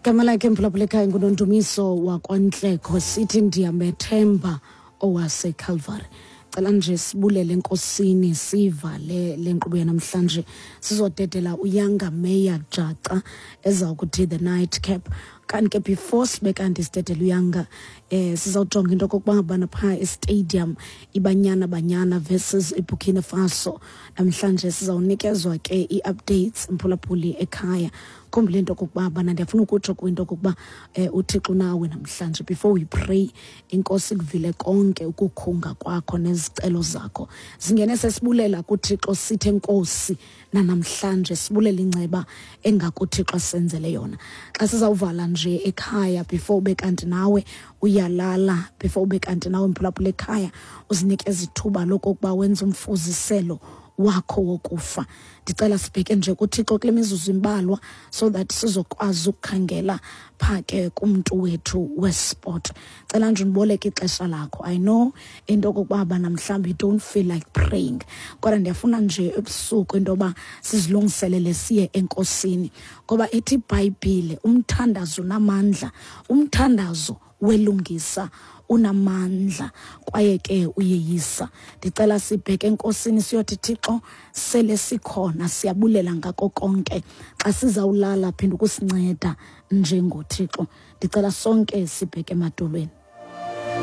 Gama lakhe, mphulaphula ekhaya, nguNondumiso wakwaNtlekho, sithi "Ndiyamethemba owaseCalvary". Cela nje sibulele enkosini, sivale le nkqubo yanamhlanje. Sizodedela uYanga Meya Jaca eza kuthi "The Night Cap". Kanti ke before sibe kanti sidedela uYanga, sizawujonga into okokuba bana phaa estadium iBanyana Banyana versus iBurkina Faso namhlanje. Sizawunikezwa ke ii-updates, mphulaphuli ekhaya. Khumbule into okokuba bana ndiyafuna ukutsho kwinto okokuba uThixo nawe namhlanje. Before we pray, inkosi kuvile konke ukukhunga kwakho nezicelo zakho zingene. Sesibulela kuThixo, sithe nkosi nanamhlanje, sibulela inceba engakuThixo asenzele yona. Xa sizawuvala nje ekhaya, before ube kanti nawe uyalala, before ube kanti nawe, mphulaphula ekhaya, uzinikeza ithuba lokokuba wenze umfuziselo wakho wokufa, ndicela sibheke nje kuThixo kule mizuzu imbalwa so that sizokwazi ukukhangela phaa ke kumntu wethu wesport. Cela nje undiboleke ixesha lakho. I know into okokuba bana mhlawumbi you don't feel like praying, kodwa ndiyafuna nje ebusuku into yoba sizilungiselele siye enkosini, ngoba ithi iBhayibhile umthandazo unamandla, umthandazo welungisa unamandla kwaye ke uyeyisa. Ndicela sibheke enkosini, siyothi, "Thixo, sele sikhona, siyabulela ngako konke. Xa sizawulala, phinda ukusinceda njengoThixo." Ndicela sonke sibheke emadolweni.